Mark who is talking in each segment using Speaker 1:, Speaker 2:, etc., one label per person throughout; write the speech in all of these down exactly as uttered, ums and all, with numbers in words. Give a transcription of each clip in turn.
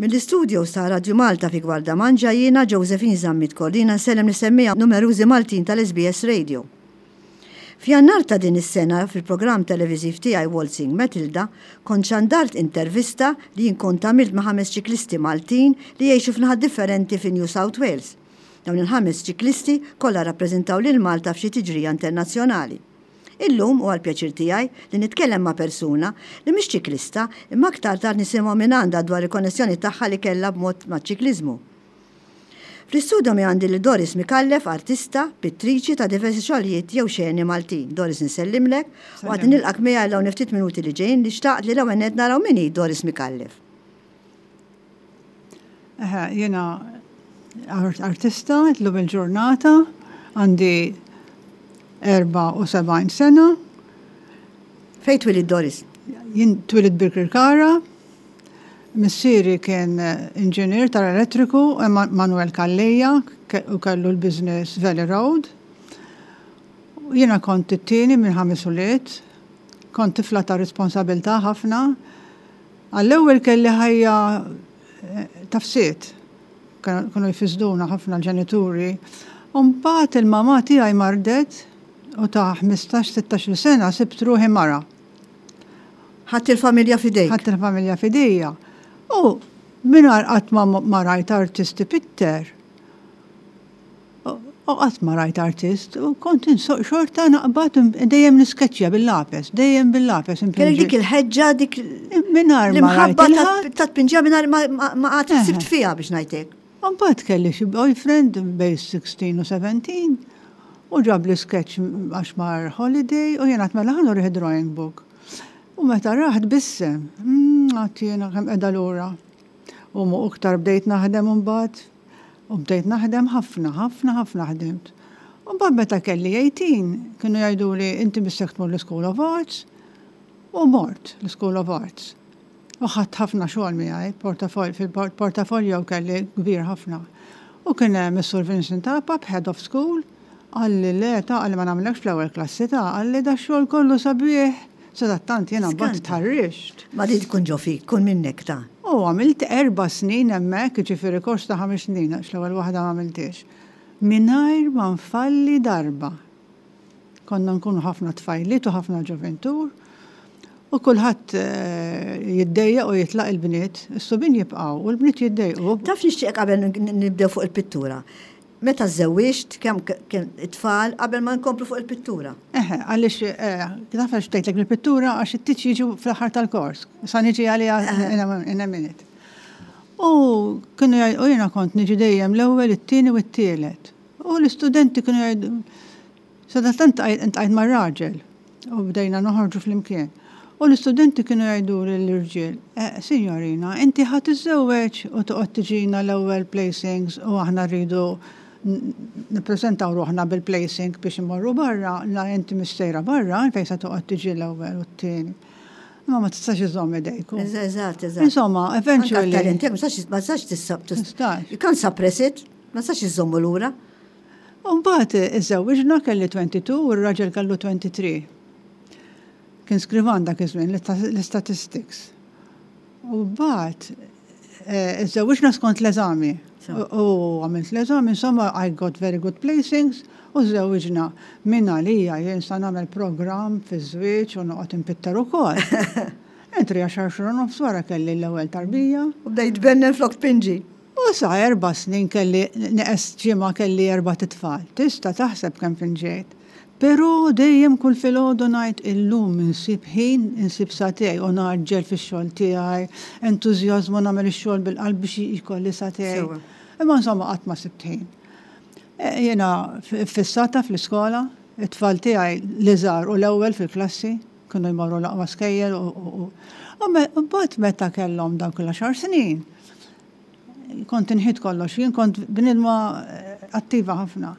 Speaker 1: Mill-istudios ta' Radio Malta fi Gwardamanġa jiena Josephine Zammit Cordina nsellem lis-semmiegħa numerużi Maltin tal-S B S Radio. F'Jannar ta' din is-sena, fil-programm televiżiv tiegħi Waltzing Matilda, kont xandart intervista li jien kont għamilt ma' ħames ċiklisti Maltin li jgħixu f'naħat differenti fi New South Wales. Dawn il-ħames ċiklisti kollha rappreżentaw lil Malta f'xi tiġrija internazzjonali. Illum hu għall-pjaċir tiegħi li nitkellem ma' persuna li mhix ċiklista, imma aktar tard nisimgħu minn għandha dwar il-konnessjoni tagħha li kellha b'mod maċ-ċikliżmu. Fl-istudio mi għandi li Doris Mikallef, artista, pittriċi ta' diversi xogħlijiet jew xeni Maltin. Doris, nsellimlek u għad nilqgħek miegħi l ftit minuti li ġejjin, li xtaqt li l-ewwel nett naraw min hi Doris Mikallef.
Speaker 2: Eħe, jiena artista, llum il-ġurnata, għandi erbgħa u sebgħin sena.
Speaker 1: Fejn twelidt, Doris?
Speaker 2: Jien twelidt Birkirkara, missieri kien inġinier tal-elettriku, Manuel Calleja, u kellu l-business Valley Road. Jiena kont it-tieni minn ħames ulied, kont tifla ta' responsabilità ħafna. Għall-ewwel kelli ħajja tafsiet, kienu jfisduna ħafna l-ġenituri. Mbagħad il-mama tiegħi mardet u ta' ħmistax sittax-il sena sibt ruħi mara.
Speaker 1: Ħadt il-familja f'idejk.
Speaker 2: Ħadt il-familja f'idejja. U mingħajr qatt ma rajt artist ipitter. U qatt ma rajt artist, u kont insoq xorta, naqbad dejjem niskeċċja bil-lapes, dejjem bil-lapes.
Speaker 1: Kellek dik il-ħeġġa, dik
Speaker 2: Mingħajr ma rajt
Speaker 1: l-imħabba
Speaker 2: il-ħadd.
Speaker 1: ta' tpinġija mingħajr ma qatt sibt fiha, biex ngħidlek.
Speaker 2: Mbagħad kelli xi boyfriend bejn sittax u sbatax u ġab li sketch għax mar holiday u jiena mela ħa nurih drawing book. U meta rah tbissem, għedt jiena kemm qiegħda lura. U mu iktar bdejt naħdem mbagħad u bdejt naħdem ħafna, ħafna, ħafna ħdimt. U mbagħad meta kelli tmintax, kienu jgħidu li inti missek tmur l-School of Arts, u mort l-School of Arts. U ħadt ħafna xogħol miegħi, portafol, fil-portafolio kelli kbir ħafna. U kien hemm Sur Vincent Apap, Head of School, qalli le ta', qalli ma nagħmlekx fl-ewwel klassi ta', qalli da xogħol kollu sabiħ. Sadattant jiena mbagħad
Speaker 1: Skanta.
Speaker 2: tħarriġt.
Speaker 1: Ma di tkun ġo fik, tkun minnek ta'
Speaker 2: U għamilt erba' snin hemmhekk, ġifieri kors ta' ħames snin, għax l-ewwel waħda ma għamiltix. Mingħajr ma nfalli darba. Konna nkunu ħafna tfajliet u ħafna ġoventur. U kulħadd eh, jiddejjaq u jitlaq il-bniet, is-subien jibqgħu u l-bniet jiddejqu.
Speaker 1: Taf, nixtieq qabel nibdew fuq il-pittura. Meta żżewwiġt, kemm kien it-tfal, qabel ma nkomplu fuq il-pittura?
Speaker 2: Eħe, għaliex, eh, taf għax bdejtlek il-pittura? Għax it-tieġ jiġu fl-aħħar tal-kors. Sa niġi għalija in a- in a minute. U kienu jgħid- u jiena kont niġi dejjem l-ewwel, it-tieni u t-tielet. U l-istudenti kienu jgħidu, sadattant iltqajt mar-raġel u bdejna noħorġu flimkien. U l-istudenti kienu jgħidu l-irġiel, "Eh, signorina, inti ħa tiżżewweġ u toqgħod tiġina l-ewwel placings u aħna rridu n- nippreżentaw ruħna bil-placing biex imorru barra, la inti missejra barra, fejn se toqgħod tiġi l-ewwel u t-tieni?" Ma ma tistax iżomm idejku.
Speaker 1: Eżatt, eżatt.
Speaker 2: Insomma, eventually.
Speaker 1: Anka talent tiegħek ma tistax ma tistax tissab.
Speaker 2: Tistax.
Speaker 1: You can't suppress it, ma tistax iżommu lura.
Speaker 2: U mbagħad iżżewwiġna, kelli tnejn u għoxrin u r-raġel kellu tlieta u għoxrin. Kien skrivan dak iż-żmien l-statistics. U mbagħad eh, iżżewwiġna skont l-eżami.
Speaker 1: So.
Speaker 2: U għamilt l-eżami, insomma, I got very good placings u żżewwiġna. Min għalija jien sa nagħmel program fi żwieġ u noqgħod impitter ukoll. Entri għaxar xhur u nofs wara kelli l-ewwel tarbija.
Speaker 1: U bdejt tbennen flok tpinġi.
Speaker 2: U sa erba' snin kelli, neqes ġimgħa kelli erbat itfal. Tista' taħseb kemm pinġejt. Però dejjem kull filgħodu ngħid, "Illum insib ħin, insib sagħtejn," u ngħaġġel fix-xogħol tiegħi, entużjażmu, nagħmel ix-xogħol bil-qalb biex jkolli sagħtejn.
Speaker 1: Sewwa.
Speaker 2: Imma insomma qatt ma sibt ħin. E, Jiena fissata fl-iskola, it-tfal tiegħi l-iżgħar u l-ewwel fil-klassi, kienu jmorru l-aqwa skejjel u u- u me- u mbagħad meta kellhom dawk l-għaxar snin, kont inħit kollox, jien kont bnidma eh, attiva ħafna.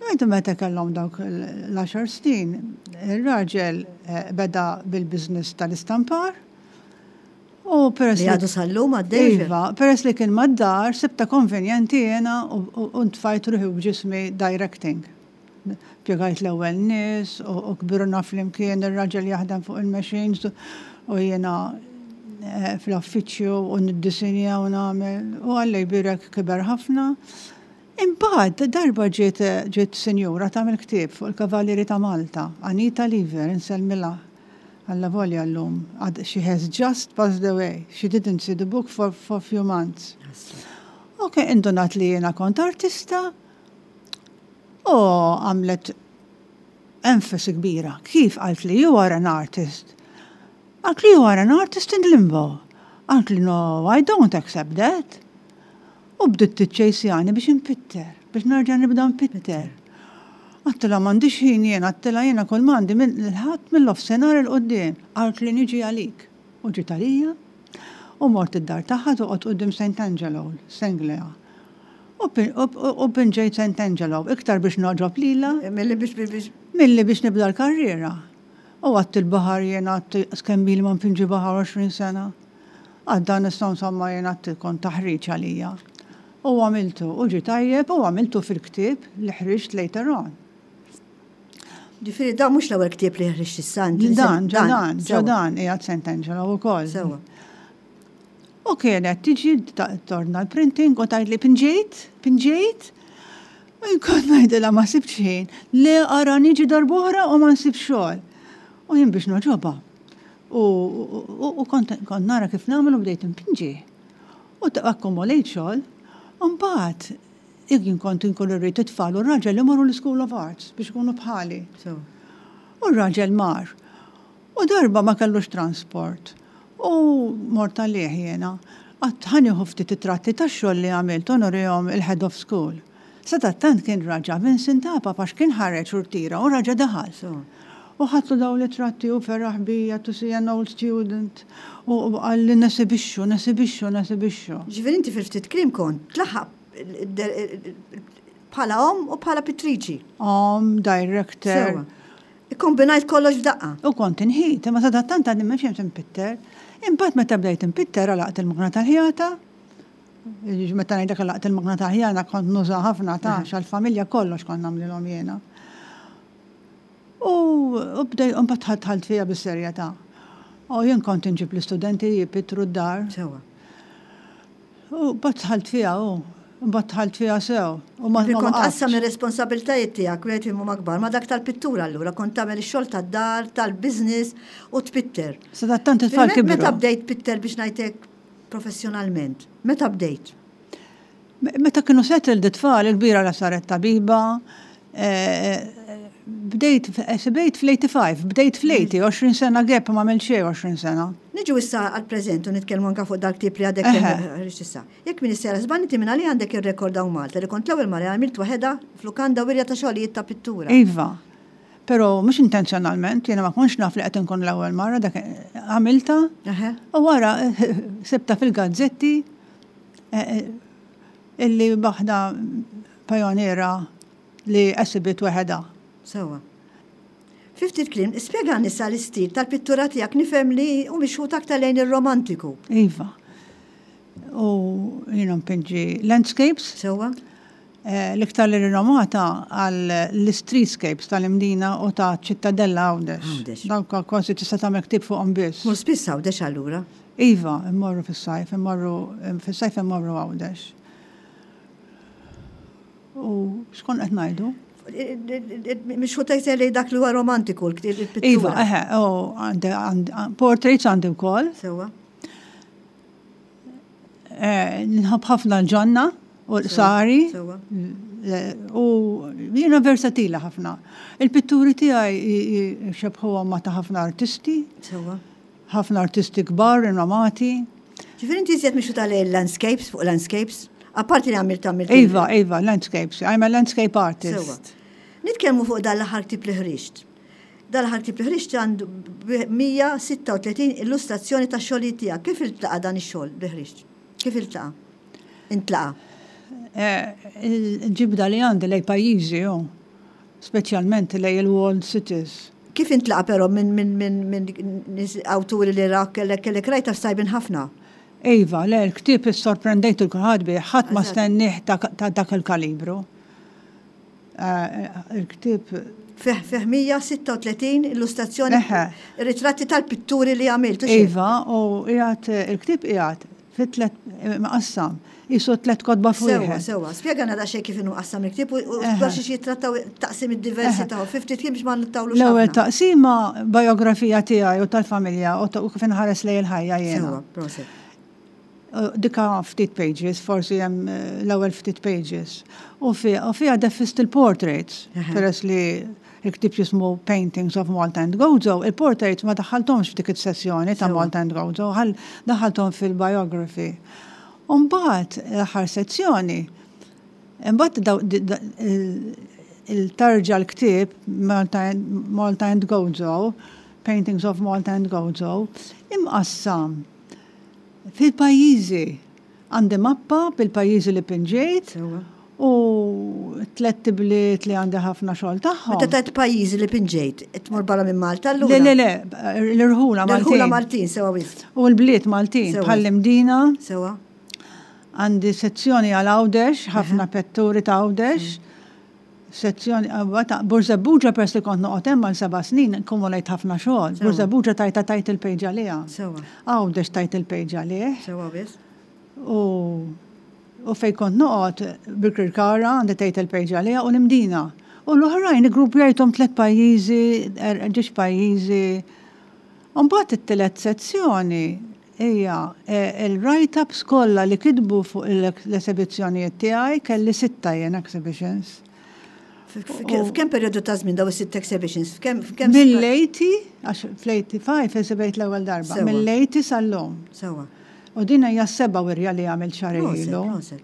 Speaker 2: Għajdu meta kellhom dawk l-għaxar snin, il-raġel eh, beda bil-biznis tal-istampar u peress
Speaker 1: Li għadu sal-lum għaddej.
Speaker 2: Iva, peress li kien mad-dar, sibta konvenjenti jena u u ntfajt ruħi u ġismi directing. Pjegajt l-ewwel nies u u kbirna flimkien, ir-raġel jaħdem fuq il-machines u jiena eh, fl-uffiċċju u niddisinja u nagħmel u Alla jbierek kiber ħafna. Imbagħad darba ġiet ġiet sinjura tagħmel ktieb fuq il-Kavallieri ta' Malta, Anita Lever, insellmilha. Alla volja llum. Għad- She has just passed away. She didn't see the book for, for few months. Ok, indunat li jena kont artista u għamlet enfasi kbira. Kif qalt li you are an artist? Qalt li you are an artist in limbo. Qalt li no, I don't accept that. U bdiet tiċċejsjani biex inpitter, biex nerġa' nibda npitter. Għedtilha m'għandix ħin jena, għedtilha jena kull m'għandi il-Ħadd min-nofsinhar 'il quddiem. Qalt li niġi għalik. U ġiet għalija. U mort id-dar tagħha toqgħod quddiem Saint Angelo, Senglea. U pin- u- u u pinġejt Saint Angelo, iktar biex nogħġob lila,
Speaker 1: Milli biex biex
Speaker 2: milli biex nibda l-karriera. U għedt il-baħar jena għedt kemm ili ma npinġi baħar għoxrin sena. Għadda nistgħu insomma jena għedt kont taħriġ għalija. U għamiltu, u ġi tajjeb, u għamiltu fil-ktieb li ħriġt later on.
Speaker 1: Ġifieri, da mhux l-ewwel ktieb li ħriġt issa. inti li
Speaker 2: Dan,
Speaker 1: se-
Speaker 2: ġadan,
Speaker 1: sewwa.
Speaker 2: ġadan, qiegħed Saint Angelo u koll.
Speaker 1: Sewwa.
Speaker 2: U kienet tiġi ta- torna l-printing u tgħid li pinġejt, pinġejt. U jkun ngħidilha ma sibx ħin. Le ara niġi darb'oħra u ma nsib xogħol. U jien biex nogħġobha. U, u, u kont, kont nara kif nagħmel u bdejt impinġi. U ta' akkumulejt xogħol. U mbagħad jien kont inkun irrid it-tfal u r-raġel imorru l-School of Arts biex ikunu bħali.
Speaker 1: Sewwa.
Speaker 2: U r-raġel mar. U darba ma kellux transport. U mort għalih jena. Għedt ħa nieħu ftit ritratti tax-xogħol li għamilt u nurihom il-head of school. Sadattant kien raġa Vincent Apap għax kien ħareġ u rtira u raġa daħal.
Speaker 1: Sewwa.
Speaker 2: U ħadtlu daw ritratti u feraħ bija to see an old student. U u qalli nesibixxu, nesibixxu, nesibixxu.
Speaker 1: Ġifieri inti fil-ftit kliem kont tlaħħaq bħala om u bħala pittriċi.
Speaker 2: Om, director.
Speaker 1: Sewwa. Ikkombinajt kollox f'daqqa.
Speaker 2: U kont inħit, imma sadattant għadni ma fhimt impitter. Imbagħad meta bdejt impitter għalaqt il-magna tal-ħjata. Meta ngħidlek għalaqt il-magna tal-ħjata kont nuża ħafna ta' għal-familja kollox kont nagħmlilhom jiena. U u bdej mbagħad dħalt fiha bis-serjetà. U jien kont inġib l-istudenti jipittru d-dar.
Speaker 1: Sewwa.
Speaker 2: U mbagħad dħalt fiha u mbagħad dħalt fiha sew. U ma
Speaker 1: Ġifieri
Speaker 2: ma
Speaker 1: kont
Speaker 2: waqaftx.
Speaker 1: qassam ir-responsabiltajiet tiegħek wieħed huma kbar ma dak tal-pittura allura kont tagħmel ix-xogħol tad-dar, tal-business u tpitter.
Speaker 2: Sadattant it-tfal
Speaker 1: Meta
Speaker 2: kibru.
Speaker 1: bdejt pitter biex ngħidlek professjonalment? Meta bdejt?
Speaker 2: Meta kienu settled it-tfal, il-kbira la saret tabiba, eh, bdejt, bdejt fl-eighty-five, bdejt fl-eighty, għoxrin sena gap ma għamilt xejn għoxrin sena.
Speaker 1: Niġu issa għal-preżent u nitkellmu anka fuq dal-ktieb li għadek
Speaker 2: Eħe.
Speaker 1: ħriġt issa. Jekk m'iniex sejra żball inti minn għalija għandek ir-rekord hawn Malta li kont l-ewwel mara għamilt waħedha f'lukanda wirja ta' xogħlijiet ta' pittura.
Speaker 2: Iva, pero mhux intenzjonalment, jiena ma kontx naf li qed inkun l-ewwel mara, dak għamilta,
Speaker 1: Eħe.
Speaker 2: u wara sibta fil-gazzetti eh, eh, illi waħda pajoniera li esibit waħedha.
Speaker 1: Sewwa. Fi ftit kliem, spjega nisa l-istil tal-pittura tiegħek, nifhem li hu mixħut aktar lejn ir-romantiku.
Speaker 2: Iva. U jiena npinġi landscapes,
Speaker 1: Sewwa?
Speaker 2: eh, l-iktar li rinomata għal l-streetscapes tal-Imdina u ta' Ċittadella Għawdex.
Speaker 1: Għawdex.
Speaker 2: Dawk kważi tista' tagħmel ktieb fuqhom biss.
Speaker 1: Mur spiss Għawdex allura.
Speaker 2: Iva, immorru fis-sajf, immorru fis-sajf immorru Għawdex. U x'kont qed ngħidu?
Speaker 1: Mixħut aktar lejn dak li huwa romantiku l-pittura.
Speaker 2: Iva, eħe, u għandi għandi- portraits għandi wkoll.
Speaker 1: Sewwa.
Speaker 2: Eh, Nħobb ħafna l-ġonna u l-qsari.
Speaker 1: Sewwa.
Speaker 2: Eh, U jiena versatila ħafna. Il-pitturi tiegħi xebħuhom ma ta' ħafna artisti,
Speaker 1: Sewwa.
Speaker 2: ħafna artisti kbar, rinomati.
Speaker 1: Ġifieri inti iżjed mixħut għal landscapes, fuq landscapes, apparti li għamilt għamilt.
Speaker 2: Iva, Iva, landscapes. I'm a landscape artist.
Speaker 1: Sewwa. Nitkellmu fuq dan l-aħħar ktieb li ħriġt. Dan l-aħħar ktieb li ħriġt għandu mija u sitta u tletin illustrazzjoni ta' xogħlijiet tiegħek. Kif iltaqa' dan ix-xogħol li ħriġt? Kif iltaqa'? Intlaqa'.
Speaker 2: Eh, Il-ġibda li għandi lejn pajjiżi, jo. Speċjalment lejn il-walled cities.
Speaker 1: Kif intlaqa' però minn min, min, min nies awturi li rak kellek kellek rajta f'sajbin ħafna?
Speaker 2: Iva, le, l-ktieb issorprendejt 'il kulħadd bih, ħadd ma
Speaker 1: Eżatt.
Speaker 2: stennieh ta' ta' dak il-kalibru. Eh, Il-ktieb
Speaker 1: Fih fih mija u sitta u tletin illustrazzjoni,
Speaker 2: Eħe.
Speaker 1: ritratti tal-pitturi li għamilt. U xejn.
Speaker 2: Iva, u qiegħed il-ktieb qiegħed fi tlet maqassam. Qisu tlet kotba fuq
Speaker 1: Sewa,
Speaker 2: wieħed.
Speaker 1: sewa. Spjegana daqsxejn kif inhu qassam il-ktieb u u
Speaker 2: Eħe.
Speaker 1: dwar xiex jittrattaw taqsim id-diversi
Speaker 2: Eħe.
Speaker 1: tagħhom. Fifty kien biex ma nittawlux
Speaker 2: L-ewwel
Speaker 1: ħafna.
Speaker 2: taqsima biografija tiegħi u tal-familja u ta- u kif inħares lejn il-ħajja jiena.
Speaker 1: Sewa, prosit.
Speaker 2: Uh, Dika ftit pages, forsi hemm eh, l-ewwel ftit pages. U fiha u fiha defist il-portraits,
Speaker 1: Eħe.
Speaker 2: peress li il-ktieb jismu Paintings of Malta and Gozo, il-portraits ma daħħalthomx f'dik is-sessjoni ta'
Speaker 1: Sewa.
Speaker 2: Malta and Gozo, ħal daħħalthom fil-biography. U mbagħad l-aħħar sezzjoni, imbagħad daw- di- da- il- il-tarġa l-ktieb Malta and- Malta and Gozo, Paintings of Malta and Gozo, imqassam fil-pajjiżi. Għandi mappa bil-pajjiżi li pinġejt
Speaker 1: Sewa.
Speaker 2: u tlet bliet li għandi ħafna xogħol tagħhom.
Speaker 1: Meta tajt pajjiżi li pinġejt, tmur barra minn Malta allura?
Speaker 2: Le, le, le, l-irħula
Speaker 1: L-irħula
Speaker 2: Maltin.
Speaker 1: Maltin, sewa wisq.
Speaker 2: U l-bliet Maltin,
Speaker 1: Sewa.
Speaker 2: bħall-Imdina,
Speaker 1: Sewa.
Speaker 2: għandi sezzjoni għal Għawdex, ħafna pitturi ta' Għawdex, sezzjoni ta' Birżebbuġa, peress li kont noqgħod hemm għal seba' snin, kumulajt ħafna xogħol.
Speaker 1: Sewa.
Speaker 2: Birżebbuġa tajta tajt il-page għaliha.
Speaker 1: Sewa.
Speaker 2: Għawdex tajt il-page għalih.
Speaker 1: Sewa wisq.
Speaker 2: U u fej kont noqgħod, Birkirkara għandi tajt il-page għaliha u l-Imdina. U l-oħrajn iggrupjajthom tliet pajjiżi, er- ġiex pajjiżi. U mbagħad it-tielet sezzjoni hija eh, il-write-ups kollha li kitbu fuq l-esebizzjonijiet tiegħi. Kelli sitta jien exhibitions.
Speaker 1: F'kemm perjodu ta' żmien daw is-sitt exhibitions? F'kemm f'kemm
Speaker 2: Mill-eighty, għax fl-eighty-five esibejt l-ewwel darba,
Speaker 1: Sewa.
Speaker 2: mill-eighty sal-lum.
Speaker 1: Sewa.
Speaker 2: U din hija s-seba' wirja li għamilt xahar
Speaker 1: Prosit,
Speaker 2: ilu.
Speaker 1: prosit.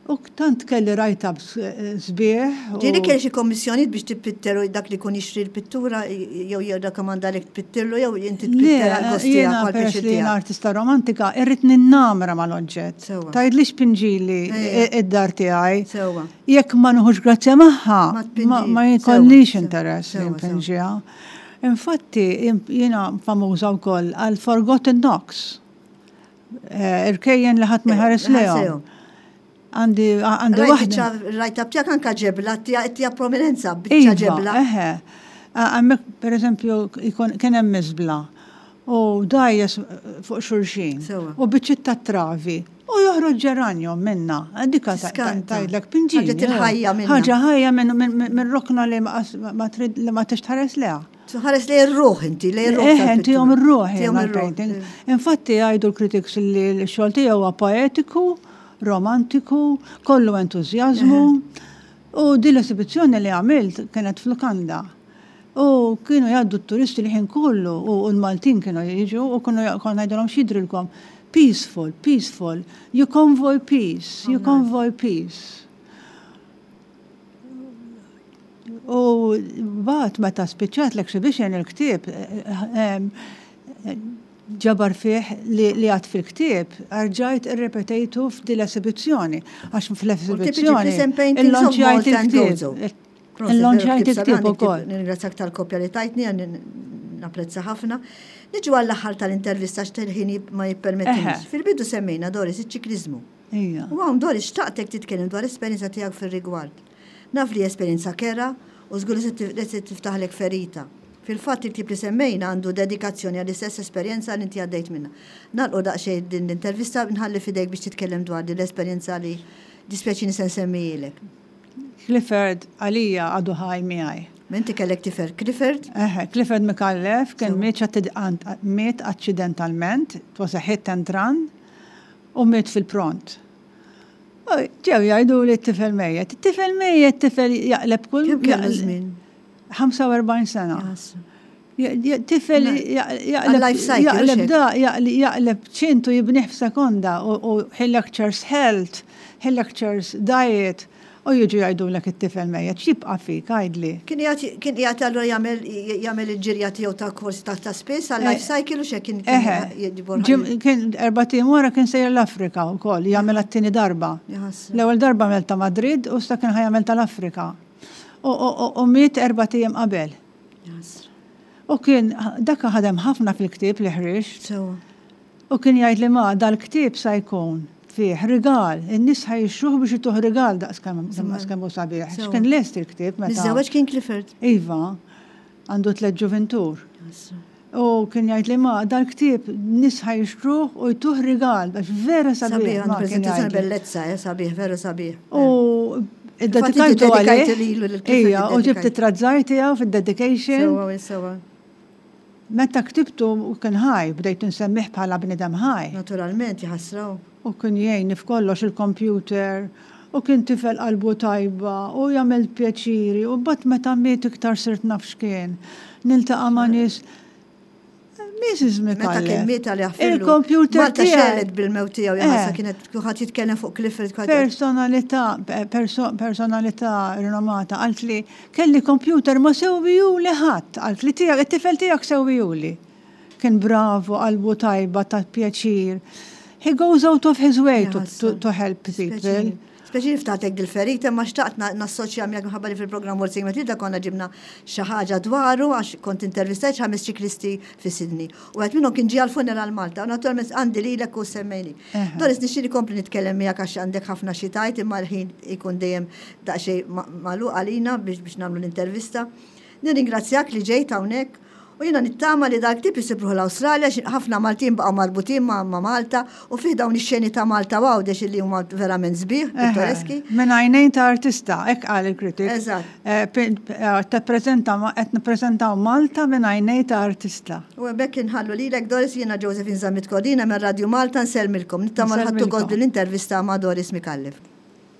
Speaker 2: U tant kelli write-ups eh, sbieħ. u-
Speaker 1: Ġieli kelli xi kommissjonijiet biex tippitter u dak li kun jixtri l-pittura jew jirrakkomanda li tpittirlu jew inti
Speaker 2: Le,
Speaker 1: tpitter għal-gost tiegħek,
Speaker 2: jiena
Speaker 1: għal
Speaker 2: peress
Speaker 1: pjaċir
Speaker 2: li jiena
Speaker 1: tiegħek?
Speaker 2: artista romantika, irrid ninnamra mal-oġġett.
Speaker 1: Sewa.
Speaker 2: Tgħidlix pinġili
Speaker 1: Ejja.
Speaker 2: id-dar tiegħi.
Speaker 1: Sewa.
Speaker 2: Jekk ma nieħux grazzja magħha,
Speaker 1: Ma tpinġi.
Speaker 2: ma ma jkollix
Speaker 1: Sewa,
Speaker 2: interess li
Speaker 1: sewa, sewa.
Speaker 2: npinġiha. Infatti, jiena famuża wkoll għal Forgotten Nooks. Eh, Irkejjen li ħadd ma jħares lejhom. Għandi għandi
Speaker 1: Rajt
Speaker 2: waħda.
Speaker 1: Rajt tiegħek anka ġebla, tija prominenza, biċċa
Speaker 2: Iva,
Speaker 1: ġebla.
Speaker 2: eħe. Hemmhekk, per eżempju, ikun- kien hemm miżbla u dgħajjes fuq xulxin
Speaker 1: Sewa.
Speaker 2: u biċċiet ta' travi u joħroġ ġeranjum minna. Dika
Speaker 1: Tiskanta.
Speaker 2: tgħidlek pinġini.
Speaker 1: Ħaġa til-ħajja minna.
Speaker 2: Ħaġa ħajja minn min, min rokna li ma ma trid li ma tixtħares leha.
Speaker 1: Tħares li r-ruħ inti, li r-ruħ.
Speaker 2: Eħe, intihom ir-ruħ
Speaker 1: Tihom
Speaker 2: jiena
Speaker 1: ir-ruħ.
Speaker 2: l-painting. Infatti jgħidu l-critics li l-xogħol tiegħu huwa poetiku, romantiku, kollu entużjażmu. U din l-esibizzjoni li għamilt kienet f'lukanda. U kienu jgħaddu t-turisti li ħin kollu u l-Maltin kienu jiġu u kienu konna ngħidulhom, "X'jidrilkom?" "Peaceful, peaceful, you convoy peace, you convoy peace." U mbagħad meta spiċċat l-exhibition, il-ktieb eh, eh, ġabar fih li, li għad fil-ktieb, rġajt irrepetejtu f'din l-esibizzjoni. Għax fl-esibizzjoni illonċjajt il-ktieb. Illonċjajt il-ktieb ukoll.
Speaker 1: Ningrazzjak tal-kopja li tajtni, għan napprezza ħafna. Niġu għall-aħħar tal-intervista x'tel-ħin ma jippermettinix.
Speaker 2: Eħe.
Speaker 1: Fil-bidu semmejna, Doris, iċ-ċikliżmu.
Speaker 2: Ija.
Speaker 1: U hawn, Doris, xtaqtek titkellem dwar esperjenza tiegħek fir-rigward. Naf li esperjenza kerha u żgur li se tif- li se tiftaħlek ferita. Fil-fatt, il-ktieb li semmejna għandu dedikazzjoni għall-istess esperjenza li inti għaddejt minna. Nagħlqu daqsxejn din l-intervista, nħalli fidejk biex titkellem dwar din l-esperjenza li dispjaċini se nsemmijilek.
Speaker 2: Clifford għalija għadu ħaj miegħi.
Speaker 1: Inti kellek tifel Clifford?
Speaker 2: Eħe, Clifford Micallef kien
Speaker 1: Sewa.
Speaker 2: miet atti- miet accidentalment, it was a hit and run, u miet fil-pront. U ġew jgħidu li t-tifel mejjet. It-tifel mejjet, tifel jaqleb kull.
Speaker 1: Kemm kellu
Speaker 2: jaqleb-
Speaker 1: żmien?
Speaker 2: ħamsa u erbgħin sena.
Speaker 1: Jaħasra.
Speaker 2: Ja- ja- Tifel jaqleb
Speaker 1: Għal-life cycle,
Speaker 2: jaqleb
Speaker 1: u xek.
Speaker 2: da, jaqleb jaqleb ċintu jibnih f'sekonda u u he lectures health, he lectures diet, u jiġu jgħidu l it-tifel mejjet. X'jibqa' fik, għidli?
Speaker 1: Kien qiegħed kien qiegħed allura jagħmel jagħmel il-ġirja tiegħu ta' kors ta' ta' spiss għal life cycle u xek kien
Speaker 2: Eħe,
Speaker 1: kien
Speaker 2: ġim- kien erbat ijiem wara kien sejjer l-Afrika u koll, jagħmel għat-tieni darba.
Speaker 1: Jaħasra.
Speaker 2: L-ewwel darba għamel ta' Madrid u issa kien ħa jagħmel tal-Afrika. U- U u- u miet erbat ijiem qabel.
Speaker 1: Jaħasra.
Speaker 2: U kien dak ħadem ħafna fil-ktieb li ħriġt.
Speaker 1: Sewa.
Speaker 2: U kien jgħid li ma dal-ktieb sa jkun fih rigal, in-nies ħa jixtruh biex ituh rigal daqs kemm daqs kemm hu sabiħ.
Speaker 1: Sewa.
Speaker 2: X'kien lest il-ktieb meta.
Speaker 1: Miżżewweġ kien Clifford.
Speaker 2: Iva, għandu tliet ġuvintur. U kien jgħid li ma dal-ktieb nies ħa jixtruh u jtuh rigal, għax vera sabiħ.
Speaker 1: Sabiħ, għandu
Speaker 2: ma kien
Speaker 1: prezentazzjoni
Speaker 2: jgħidli.
Speaker 1: bellezza, eh, sabiħ, veru sabiħ.
Speaker 2: U
Speaker 1: Infatti
Speaker 2: id-dedikajtu
Speaker 1: iddedikajt
Speaker 2: għalih.
Speaker 1: lilu lil Clifford
Speaker 2: Ija, u ġibt
Speaker 1: iddedikajt.
Speaker 2: it-trazzaj tiegħu fid-dedication.
Speaker 1: Sewa, sewa.
Speaker 2: Meta ktibtu u kien ħaj, bdejt nsemmih bħala bnidem ħaj.
Speaker 1: Naturalment, jaħasra.
Speaker 2: U kien jgħinni f'kollox il-computer, u kien tifel qalbu tajba, u jagħmel pjaċiri, u bat meta miet iktar sirt naf x'kien. Niltaqa' ma' nies. Missus
Speaker 1: Meta kien
Speaker 2: Micallef.
Speaker 1: miet għal jaħfirlu.
Speaker 2: Il-computer
Speaker 1: Malta
Speaker 2: tiegħi.
Speaker 1: xegħlet bil-mewt tiegħu, jaħasra
Speaker 2: Eh.
Speaker 1: kienet kulħadd jitkellem fuq Clifford. kulħadd-
Speaker 2: Personalità, perso, personalità rinomata, għalt li kelli computer ma sewwihuli ħadd, għalt li tiegħek, it-tifel tiegħek sewwihuli. Kien bravo, qalbu tajba, ta' pjaċir. He goes out of his way to, to, to help people.
Speaker 1: Speċi ftatek dil-ferita, ma xtaqt na- nassoċja miegħek minħabba li fil-programm Waltzing Matilda konna ġibna xi ħaġa dwaru għax kont intervistajt ħames ċiklisti fi Sydney. U għed minnhom kien ġie għal-funeral Malta, u naturalment għandi lilek u semmejni.
Speaker 2: Eħe.
Speaker 1: Doris, nixtieq nkompli nitkellem miegħek għax għandek ħafna xi tgħid, imma l-ħin ikun dejjem daqsxejn ma- magħluq għalina biex biex nagħmlu l-intervista. Nirringrazzjak li ġejt hawnhekk u jiena nittama li dal-ktieb isibuh l-Awstralja, xi ħafna Maltin baqgħu marbutin ma' ma' Malta u fih dawn ix-xeni ta' Malta u Għawdex li huma verament sbieħ, pittoreski.
Speaker 2: Minn għajnejn ta' artista, hekk qal il-kritik.
Speaker 1: Eżatt.
Speaker 2: Eh, pin- eh, Tippreżenta, qed nippreżentaw Malta minn għajnejn ta' artista.
Speaker 1: U hemmhekk inħallu lilek Doris, jiena Josephine Zammit Cordina minn Radio Malta nsellmilkom. Nittama li ħadtu
Speaker 2: Nsellmilkom.
Speaker 1: gost din l-intervista ma' Doris Micallef.